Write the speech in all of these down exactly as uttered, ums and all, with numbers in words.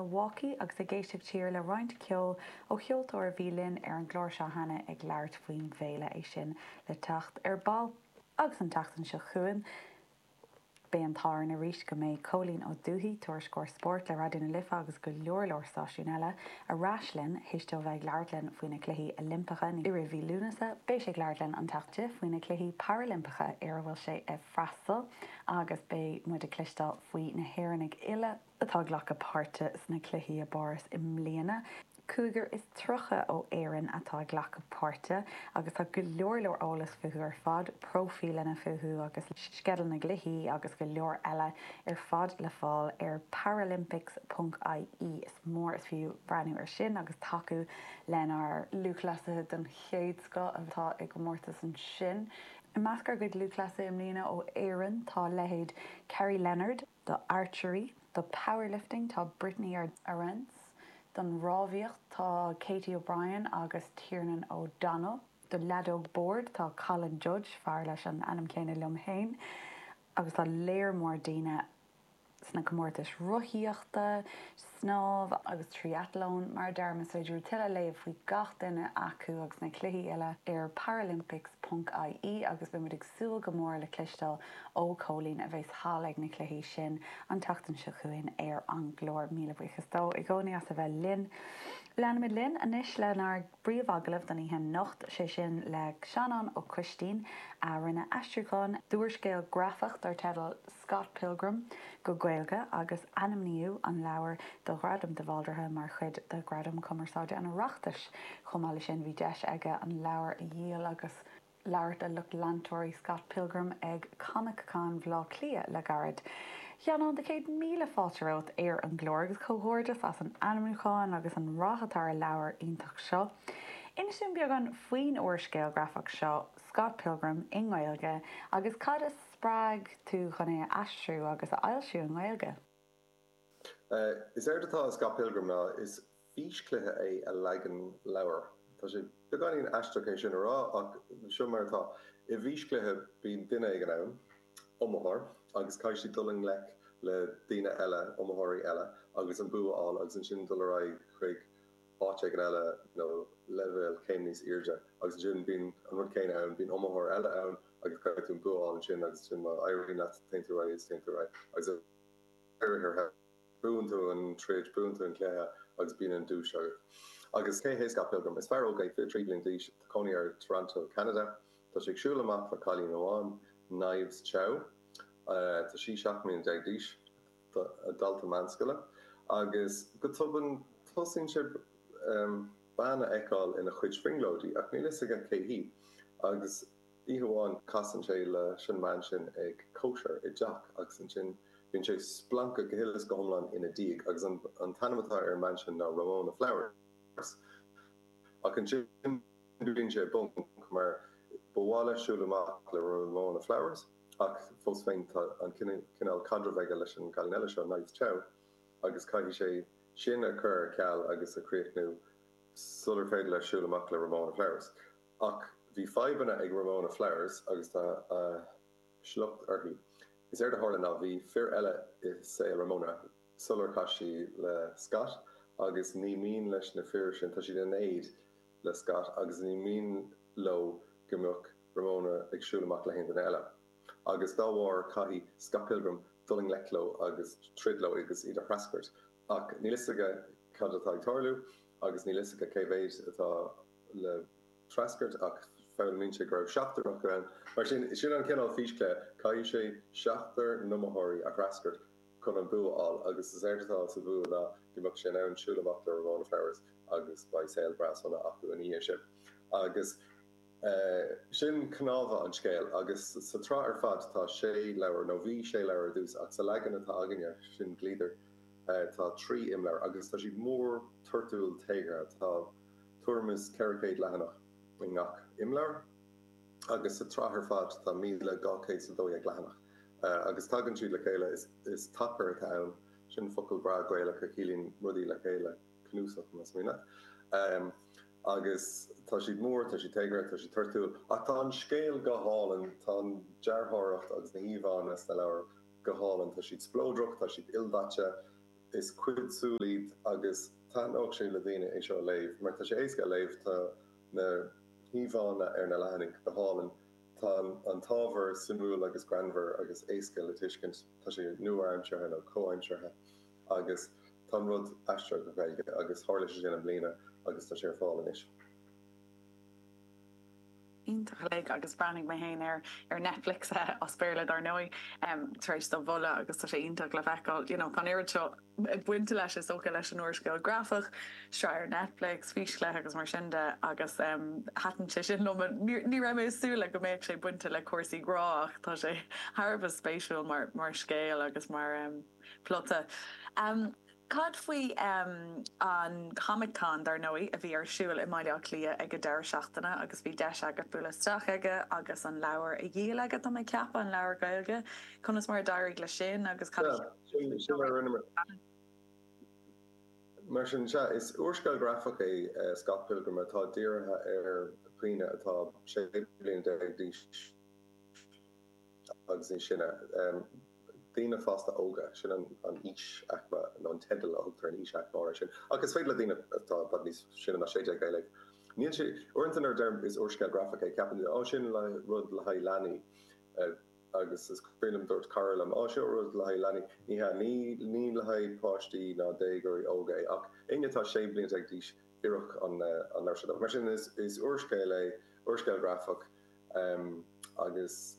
Milwaukee agus ag éisteacht siar le roinnt ceoil ó cheoltóir a bhí linn ar an gclár seo cheana ag labhairt faoin bhféile é sin le teacht ar ball agus an tseachtain seo chugainn. Beidh an t-ádh orainn arís go mbeidh Cóilín Ó Dubhthaigh tuairisceoir spóirt le Raidió na Life agus go leor leor stáisiún eile ar ais linn théis dó bheith ag labhairt linn faoi na Cluichí Oilimpeacha i rith mhí Lúnasa, beidh sé ag labhairt linn an tseachtain faoi na Cluichí Parailimpeacha ar a bhfuil sé ag freastal agus beidh muid ag cloisteáil faoi na hÉireannaigh uile atá ag glacadh páirte sna cluichí i bPáras i mbliana. Cúigear is tríocha ó Éirinn atá ag glacadh páirte agus tá go leor leor eolas fúthu ar fad, próifíleanna fúthu agus sceideal na gcluichí agus go leor eile ar fad le fáil ar paralympics.ie is mór is fiú breathnú ar sin agus tacú lenár lúthchleasaithe den chéad scoth atá i gcomórtas ansin. I measc ár gcuid lúthchleasaithe i mbliana ó Éirinn tá leithéid Kerry Leonard do archery, do powerlifting tá Brittany Arends, don rámhaíocht tá Katie O'Brien agus Tiernan O'Donnell. Do leadóg boird tá Colin Judge fear leis an ainm céanna liom féin, agus tá léar mór daoine sna comórtais rothaíochta, snámh agus triathlon mar dar is féidir tuilleadh léamh faoi gach duine acu agus na cluichí eile ar paralympics.ie agus beimid ag súil go mór le cloisteáil ó Chóilín a bheas thall ag na cluichí sin an tseachtain seo chugainn ar an gclár míle buíochas dó i gcónaí as a bheith linn. Leanfaimid linn anois lenár bpríomhagallamh don oíche anocht sé sin le Seanán Ó Coistín a rinne aistriúchán d'úrscéal grafach dar teideal Scott Pilgrim go Gaeilge agus ainmníodh an leabhar do Ghradam de Bhaldraithe mar chuid de Ghradam Cumarsáide an Oireachtais. Chomh maith leis sin bhí deis aige an leabhar a dhíol agus labhairt le lucht leantóirí Scott Pilgrim ag Comic Con Bhaile Átha Cliath le gairid. Sheanáin do céad míle fáilte romhat ar an gclár agus comhghairdeas as an ainmniúchán agus an rath atá ar an leabhar iontach seo. Inis dúinn beagán faoin úrscéal grafach seo Scott Pilgrim i nGaeilge agus cad a spreag tú chun é a aistriú agus a fhoilsiú i nGaeilge. Uh, is éard atá Scott Pilgrim ná is físchluiche é a leagan leabhar. Tá sé beagáinín aisteach é sin a rá ach seo mar atá i bhfíschluiche bíonn duine ag an am iomaitheoir agus caithfidh siad dul i ngleic le daoine eile iomaitheoirí eile agus an bua a fháil agus ansin dul ar aghaidh chuig áit éigin eile nó leibhéal céim níos airde agus ansin bíonn an rud céanna ann bíonn iomaitheoir eile ann agus caithfidh tú an bua a fháil ansin agus sin má éiríonn leat téann tú ar aghaidh téann tú ar aghaidh agus ar buann tú an troid buann tú an cluiche agus bíonn an duais agat. Agus cé hé Scott Pilgrim is fear óg é fiche trí bliain d'aois tá cónaí air Toronto, Canada, Tá sé ag siúl amach le cailín amháin Knives Chow uh, Tá sí seacht mbliana déag d'aois dalta meánscoile agus go tobann tosaíonn sé um, bean a fheiceáil ina chuid brionglóidí ach níl fhios aige cé hí agus oíche amháin casann sé leis an mbean sin ag cóisir i dteach agus ansin bíonn sé splanctha go huile is go hiomlán ina diaidh agus an, an t-ainm atá ar an mbean sin ná Ramona Flowers. Ach ansin bíonn sé i bponc mar ba mhaith leis siúl amach le Ramona Flowers ach fós féin tá an cineál caidreamh aige leis an gcailín eile seo Knives Chow agus caithfidh sé sin a chur ar ceal agus a chríochnú sular féidir leis siúl amach le Ramona Flowers. Ach bhí fadhbanna ag Ramona Flowers agus tá a sliocht uirthi. Is éard a tharla ná bhí fir eile i saol Ramona sular chas sí le Scott agus ní mian leis na fir sin tá siad in éad le Scott agus ní mian leo go mbeadh Ramona ag siúl amach le haon duine eile. Agus dá bharr caithfidh Scott Pilgrim dul i ngleic leo agus troid leo agus iad a threascairt. Ach níl fhios aige cad atá ag tarlú agus níl fhios aige cé mhéad atá le treascairt ach foghlaimíonn sé go raibh seachtar acu ann. Mar sin sin an cineál físchluiche caithfidh sé seachtar n-iomaitheoirí a threascairt chun an bua a fháil agus is éard atá sa bhua ná go mbeadh sé in ann siúl amach le Ramona Flowers agus beidh saol breá sona acu ina dhiaidh sin. Agus uh, sin cnámha an scéil agus sa tsraith ar fad tá sé leabhar nó bhí sé leabhar ar dtús ach sa leagan atá againne sin Gliadar uh, tá trí imleabhar agus tá siad mór toirtiúil téagartha tá tuairim is ceithre chéad leathanach i ngach imleabhar agus sa tsraith ar fad tá míle dhá chéad is a dó dhéag leathanach. Uh, agus tagann siad le chéile is, is tacar atá ann sin focal breá Gaelach a chiallaíonn rudaí le chéile cnuasach más mian leat. Um, agus tá siad mór, tá siad téagartha, tá siad toirtiúil, ach tá an scéal go hálainn, tá an dearthóireacht agus na híomhánna sna leabhair go hálainn, tá siad spleodrach, tá siad ildaite, Is cuid súl iad agus taitneoidh sé le daoine é seo a léamh mar tá sé éasca a léamh, tá na híomhánna ar na leathanaigh go hálainn, tá an t-ábhar suimiúil agus greannmhar agus éasca le tuiscint, tá sé nua-aimseartha nó comhaimseartha agus tá an rud aistrithe go Gaeilge agus tharla sé sin i mbliana agus tá sé ar fáil anois. Iontach uilig agus bhreathnaigh mé féin air ar Netflix as Béarla dar ndóigh tar éis do mholadh agus tá sé iontach le feiceáil. You know, tá an oiread seo bainte leis is dócha leis an úrscéal grafach, sraith ar Netflix, físchluiche agus mar sin de agus thaitin sé sin liom. Ní raibh mé ag súil le go mbeadh sé bainte le cúrsaí grá ach tá sé thar a bheith spéisiúil mar mar scéal agus mar plota. Cad faoi an Comic Con, dar ndóigh, a bhí ar siúl i mBaile Átha Cliath ag an deireadh seachtaine agus bhí deis agat bualadh isteach aige agus an leabhar a dhíol aige, tá mé ag ceapadh, an leabhar Gaeilge. Conas mar a d'éirigh leis sin agus cad a Sin sin mar a rinneamar. Mar sin, sea, is úrscéal grafach é Scott Pilgrim atá dírithe ar dhaoine atá sé bliana déag d'aois agus níos sine. Daoine fásta óga, sin an aois-aicme nó an teideal a thugtar ar an aois-aicme áirithe sin. Ach is féidir le daoine atá i bhfad níos sine ná sé déag é a léamh. Níl sé, uaireanta nuair a deirim is úrscéal grafach é, ceapann daoine, 'Ó, sin rud le haghaidh leanaí. Agus is cuimhin liom dúirt cara liom, 'Ó, seo rud le haghaidh leanaí. Ní hea, ní, ní le haghaidh páistí ná déagóirí óga é, ach éinne atá sé bliana déag d'aois, oirfeadh an leabhar seo dóibh. Mar sin, is, is úrscéal é, úrscéal grafach, agus.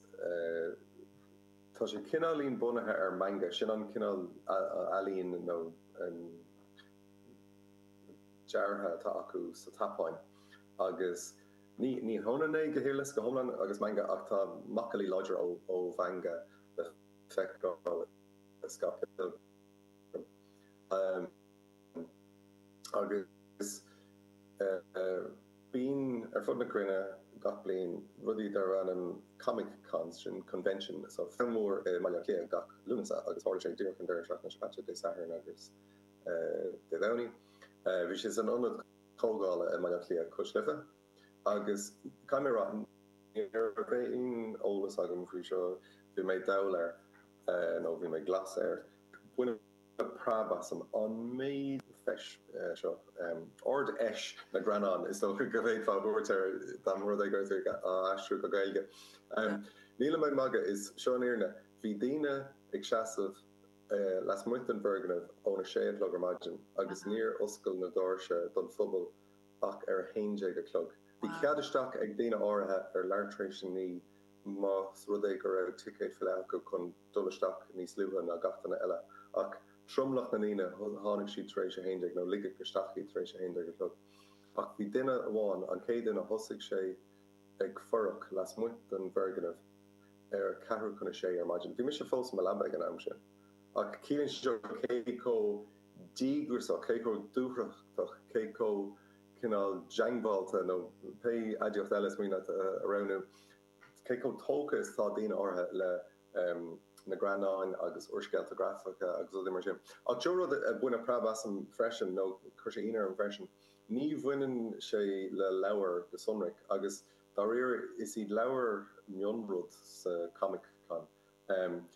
Tá sé cineáilín bunaithe ar manga, sin an cineál ealaín nó deartha atá acu sa tSeapáin agus ní ní hionann é go huile is go hiomlán agus manga ach tá macallaí láidre ó mhanga le feiceáil i Scott Pilgrim. Agus bíonn ar fud na cruinne gach bliain rudaí darb ainm Comic Cons, sin convention, so ceann mór i mBaile Átha Cliath gach Lúnasa agus tharla sé díreach an deireadh seachtaine seo caite, Dé Sathairn agus Dé Domhnaigh. Bhí sé san ionad comhdhála i mBaile Átha Cliath cois Life agus caithfidh mé a rá, ní raibh aon eolas agam faoi seo, bhí mé dall air nó bhí mé glas air. Baineadh preab asam an méid feis seo, Ard-Fheis na nGreannán is dócha go bhféadfá a thabhairt air dá mba rud é go raibh tú á aistriú go Gaeilge. Nílim ag magadh, is seo an fhírinne, bhí daoine ag seasamh lasmuigh den bhfoirgneamh óna sé a chlog ar maidin agus níor oscail na doirse don phobal ach ar a haon déag a chlog. Bhí cead isteach ag daoine áirithe ar leathuair tar éis a naoi más rud é go raibh ticéad faoi leith acu chun dul isteach níos luaithe ná gach duine eile. Ach tromlach na ndaoine, tháinig siad tar éis a haon déag, nó ligeadh isteach iad tar éis a haon déag a chlog. Ach bhí duine amháin, an chéad duine, thosaigh sé ag fuireach lasmuigh den bhfoirgneamh ar ceathrú chun a sé ar maidin. Bhí mise fós i mo leaba ag an am sin. Ach ciallaíonn sé seo cé chomh díograiseach, cé chomh dúthrachtach, cé chomh cineál diongbháilte, nó pé aidiacht eile is mian leat a roghnú, cé chomh tógtha is atá daoine áirithe le na greannáin agus úrscéalta grafacha agus rudaí mar sin. Ach seo rud a baineadh preab asam freisin, nó chuir sé ionadh orm freisin, ní bhaineann sé le leabhair go sonrach, agus dáiríre is iad leabhair mionrud sa Comic Con.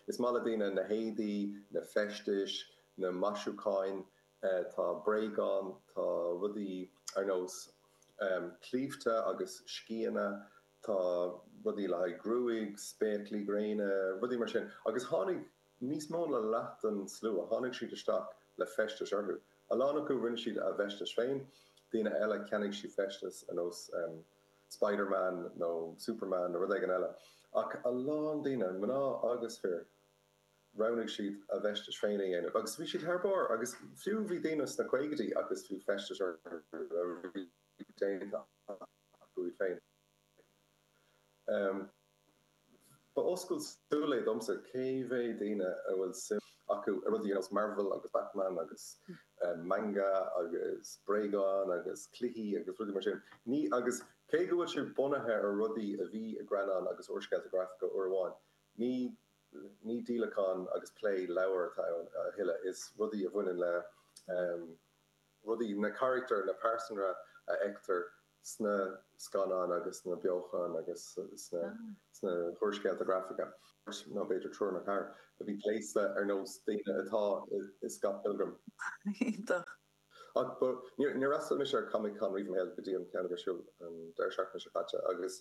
Is maith le daoine na héadaí, na feistis, na maisiúcháin, tá bréagáin, tá rudaí ar nós claímhte agus sciathanna, tá rudaí le haghaidh gruaig, spéaclaí gréine, rudaí mar sin. Agus tháinig níos mó ná leath den slua, tháinig siad isteach le feistis orthu. A lán acu rinne siad a bhfeistis féin, daoine eile cheannaigh siad feistis ar nós Spider-Man nó Superman nó rud éigin eile. Ach a lán daoine, mná agus fir, roghnaigh siad a bhfeistis féin a dhéanamh agus bhí siad thar barr agus fiú bhí daoine sna caogaidí agus bhí feistis orthu a bhí déanta acu iad féin. Ba oscailt súl é domsa cé mhéad daoine a bhfuil suim acu i rudaí ar nós Marvel agus Batman agus manga agus bréagáin agus cluichí agus rudaí mar sin. Ní, agus cé go bhfuil sé bunaithe ar rudaí a bhí i greannáin agus úrscéalta grafacha uair amháin, ní ní díolachán agus plé leabhar atá ann a thuilleadh, is rudaí a bhaineann le rudaí, na carachtair, na pearsanra a fheictear sna scannáin agus sna beochain agus sna sna húrscéalta grafacha. nó b'fhéidir triúr nó ceathrar a bhí gléasta ar nós daoine atá i Scott Pilgrim. Iontach. Ach níor fhreastail mise ar Comic Con riamh i mo shaol go dtí an ceann a bhí ar siúl an deireadh seachtaine seo caite agus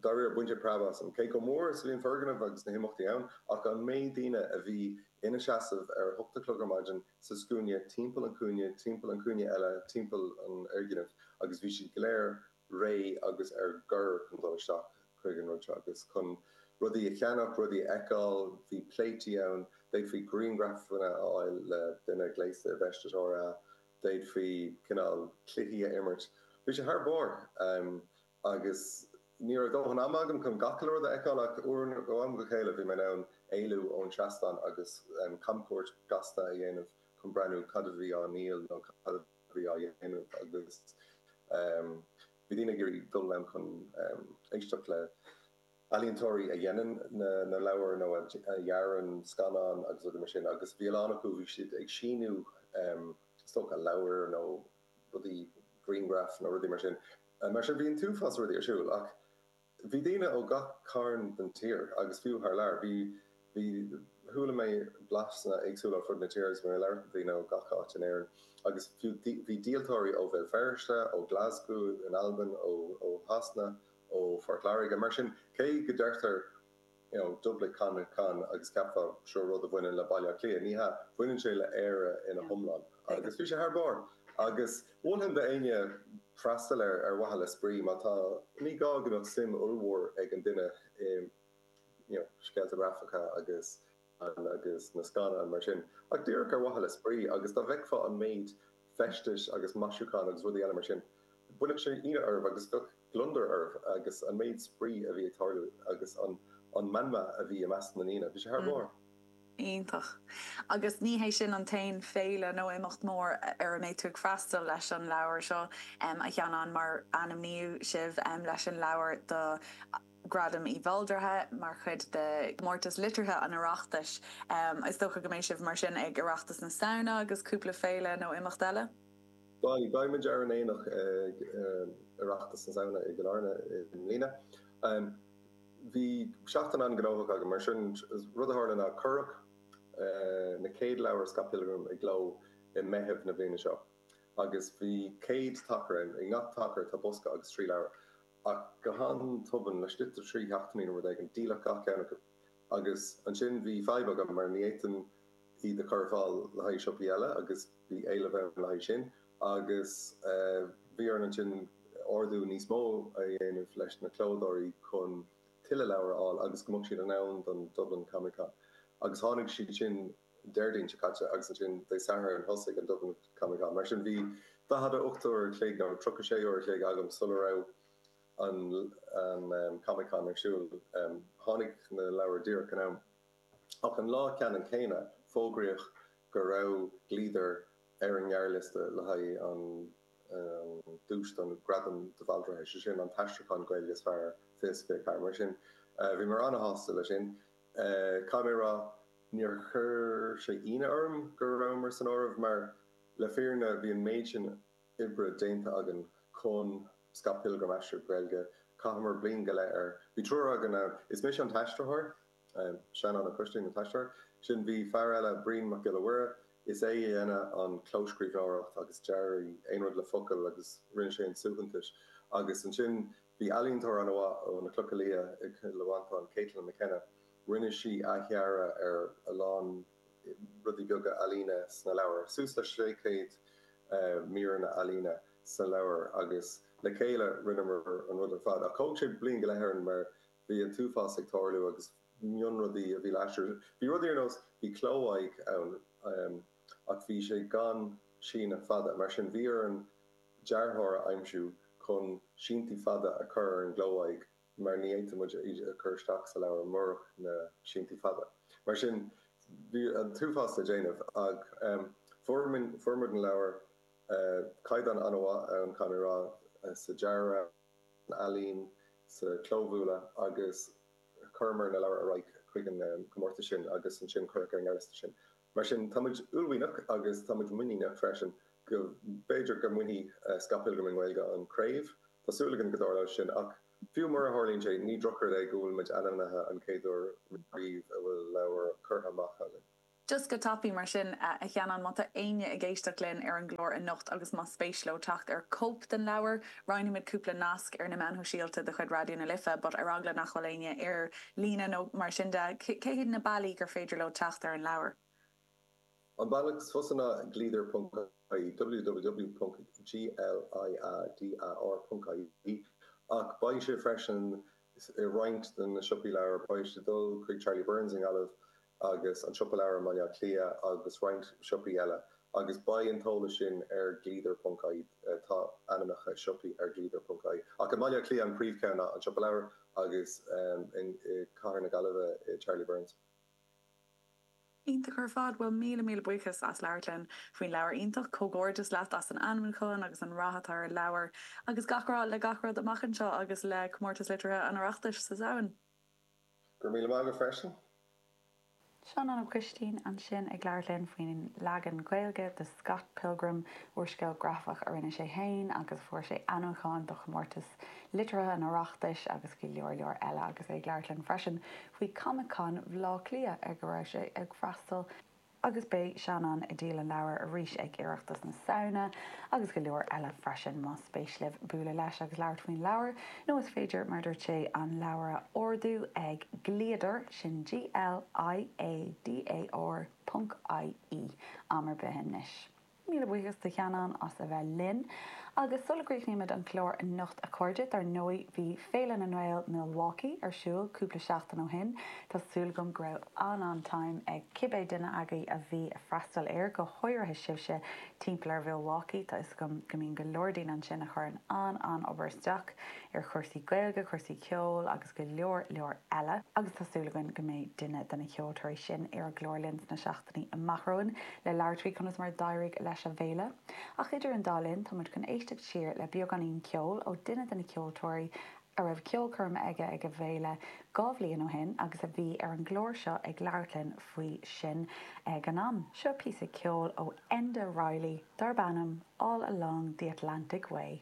dáiríre bhain sé preab asam. Cé chomh mór is a bhí an foirgneamh agus na himeachtaí ann, ach an méid daoine a bhí ina seasamh ar a hocht a chlog ar maidin sa scuaine timpeall an chúinne, timpeall an chúinne eile, timpeall an fhoirgnimh agus bhí siad go léir réidh agus ar gor chun dul isteach chuig an rud seo agus chun rudaí a cheannach, rudaí a fheiceáil, bhí pléití ann, d'fhéadfaí grianghrafanna a fháil le duine gléasta i bhfeisteas áirithe, d'fhéadfaí cineál cluichí a imirt. Bhí sé thar barr agus ní raibh dóthain ama agam chun gach uile rud a fheiceáil ach uair ó am go chéile bhí mé in ann éalú ón trasnán agus camchuairt gasta a dhéanamh chun breathnú cad a bhí á ndíol nó cad a bhí á dhéanamh agus bhí daoine ag iarraidh dul ann chun éisteacht le ealaíontóirí a dhéanann na leabhair nó a dhearann scannáin agus rudaí mar sin agus bhí a lán acu, bhí siad ag síniú is dócha leabhair nó rudaí, grianghraif nó rudaí mar sin. Mar sin bhí an t-uafás rudaí ar siúl ach bhí daoine ó gach cearn den tír agus fiú thar lear. Bhí, bhí, chuala mé blasanna éagsúla ar fud na tíre agus bhí mé ag labhairt le daoine ó gach áit in Éirinn agus fiú bhí díoltóirí ó Bhéal Feirste, ó Glasgow in Albain, ó, ó Shasana, ó Phort Láirge. Mar sin, cé go deirtear you know Dublin Comic Con agus ceapfá seo rud a bhaineann le Baile Átha Cliath, ní hea, baineann sé le Éire ina hiomlán. Agus bhí sé thar barr. Agus mholfainn d'éinne freastal air ar mhaithe le spraoi, má tá, ní gá go mbeadh suim ollmhór ag an duine i you know scéalta grafacha agus agus na scannáin mar sin, ach díreach ar mhaithe le spraoi agus dá bhfeicfeá an méid feistis agus maisiúcháin agus rudaí eile mar sin, bhainfeadh sé ionadh oraibh agus bheadh gliondar oraibh agus an méid spraoi a bhí ag tarlú agus an an meanma a bhí i measc na ndaoine, bhí sé thar barr. Iontach. Agus ní hé sin an t-aon féile nó imeacht mór ar a mbeidh tú ag freastal leis an leabhar seo, a Sheanáin, mar ainmníodh sibh leis an leabhar do Ghradam Uí Bhaldraithe mar chuid de Chomórtas Liteartha an Oireachtais. Is dócha go mbeidh sibh mar sin ag Oireachtas na Samhna agus cúpla féile nó imeacht eile? Beidh, beidh muid ar an aonach ag Oireachtas na Samhna i gCill Airne i mbliana. Bhí seachtain an-ghnóthach agam, mar sin, rud a tharla ná cuireadh na chéad leabhair Scott Pilgrim i gcló i Meitheamh na bliana seo agus bhí céad tacar ann, i ngach tacar tá bosca agus trí leabhar. Ach go han-tobann, laistigh de thrí sheachtainí nó rud éigin, díoladh gach ceann acu. Agus ansin bhí fadhb agam mar ní fhéadfainn iad a chur ar fáil le haghaidh siopaí eile agus bhí éileamh ann le haghaidh sin. Agus bhí orainn ansin ordú níos mó a dhéanamh leis na clódóirí chun tuilleadh leabhar a fháil agus go mbeadh siad in am don Dublin Comic Con. Agus tháinig siad sin Déardaoin seo caite agus ansin Dé Sathairn thosaigh an Dublin Comic Con. Mar sin bhí daichead a ocht uair a chloig nó tríocha sé uair a chloig agam sula raibh an Comic Con ar siúl. Tháinig na leabhair díreach in am. Ach an lá ceannann céanna fógraíodh go raibh Gliadar ar an ngearrliosta le haghaidh an duais don Ghradam de Bhaldraithe, sé sin an t-aistriúchán Gaeilge is fearr fiche is fiche ceathair. Mar sin bhíomar an-shásta leis sin. Caithfidh mé a rá, níor chuir sé ionadh orm go rabhamar san áireamh mar le fírinne bhí an méid sin oibre déanta againn chun Scott Pilgrim a aistriú go Gaeilge. Chaitheamar bliain go leith air. Bhí triúr againn ann. Is mise an t-aistritheoir, Seanán Ó Coistín an t-aistritheoir. Ansin bhí fear eile, Brian Mac Giolla Mhuire, is é a dhéanadh an clóscríbhneoireacht agus dearaí, aon rud le focail agus rinne sé an suaitheantas. Agus ansin bhí ealaíontóir an-mhaith ó na Clocha Liath i gCill Mhantáin, Caitlin McKenna, rinne sí athdhearadh ar a lán rudaí beaga ealaíne sna leabhair, suas le sé chéad míreanna ealaíne sa leabhar agus le chéile rinneamar an rud ar fad. Ach thóg sé bliain go leith orainn mar bhí an t-uafás ag tarlú agus mionrudaí a bhí le haistriú. Bhí rudaí ar nós, bhí cló-aghaidh ann ach bhí sé gan síneadh fada, mar sin bhí orainn dearthóir a aimsiú chun síntí fada a chur ar an gcló-aghaidh mar ní fhéadfadh muid iad a chur isteach sa leabhar murach na síntí fada. Mar sin, bhí an t-uafás le déanamh ach fuair muid an leabhar, caighdeán an-mhaith ann, caithfidh mé a rá, sa dearadh, san ealaín, sa chlóbhualadh agus chuireamar na leabhair ar aghaidh chuig an gcomórtas sin agus ansin cuireadh ar an ngearrliosta sinn. Mar sin, tá muid uaillmhianach agus tá muid muiníneach freisin go mb'fhéidir go mbainfidh Scott Pilgrim i nGaeilge an craobh Tá súil againn go dtarlóidh sin ach fiú mura tharlaíonn sé, ní drochrud é go bhfuil muid ainmnithe an chéad uair riamh a bhfuil leabhar curtha amach againn. Just go tapaidh mar sin, a Sheanáin, má tá éinne ag éisteacht linn ar an gclár anocht agus más spéis leo teacht ar cóip den leabhar, roinnfimid cúpla nasc ar na meáin shóisialta de chuid Raidió na Life, but ar eagla nach bhfuil éinne ar líne nó mar sin de, cé hiad na bealaí gur féidir leo teacht ar an leabhar? An bealach is fusa ná gliadar ponc ie, www ponc gliadar ponc ie, ach beidh sé freisin i roinnt de na siopaí leabhar, beidh sé ag dul chuig Charlie Byrne's i nGaillimh agus an Siopa Leabhar i mBaile Átha Cliath agus roinnt siopaí eile agus beidh an t-eolas sin ar gliadar ponc ie, tá ainmneacha siopaí ar gliadar ponc ie. Ach i mBaile Átha Cliath an príomhcheann ná an Siopa Leabhar agus i gCathair na Gaillimhe Charlie Byrne's. Iontach ar fad. Bhuel, míle míle buíochas as labhairt linn faoin leabhar iontach. Comhghairdeas leat as an ainmniúchán agus an rath atá ar an leabhar agus gach rath le gach rud amach anseo agus le Comórtas Liteartha an Oireachtais sa Samhain. Go raibh míle maith agat freisin. Seanán Ó Coistín ansin ag labhairt linn faoin leagan Gaeilge de Scott Pilgrim, úrscéal grafach a rinne sé féin agus a fuair sé ainmniúchán do Chomórtas Liteartha an Oireachtais agus go leor leor eile agus é ag labhairt linn freisin faoi Comic Con Bhaile Átha Cliath ar go raibh sé ag freastal agus beidh Seanán ag díol an leabhair arís ag Oireachtas na Samhna agus go leor eile freisin más spéis libh bualadh leis agus labhairt faoin leabhar nó is féidir mar dúirt sé an leabhar a ordú ag Gliadar, sin G-L-I-A-D-A-R ponc I-E am ar bith anois. Míle buíochas do Sheanán as a bheith linn. Agus sula gcríochnaímid an clár anocht a chairde, dar ndóigh bhí Féile na nGael Milwaukee ar siúl cúpla seachtain ó shin. Tá súil agam go raibh an-an-time ag cibé duine agaibh a bhí ag freastal air, go háirithe sibhse timpeall ar Mhilwaukee. Tá fhios agam go mbíonn go leor daoine ansin a chuireann an-an-obair isteach ar chúrsaí Gaeilge, cúrsaí ceoil agus go leor leor eile. Agus tá súil againn go mbeidh duine de na ceoltóirí sin ar an gclár linn sna seachtainí amach romhainn le labhairt faoi conas mar a d'éirigh leis an bhféile. Ach idir an dá linn, tá muid chun éisteacht siar le beagáinín ceoil ó duine de na ceoltóirí a raibh ceolchoirm aige ag an bhféile dhá bhliain ó shin agus a bhí ar an gclár seo ag labhairt linn faoi sin ag an am. Seo píosa ceoil ó Enda Reilly darb ainm All Along the Atlantic Way.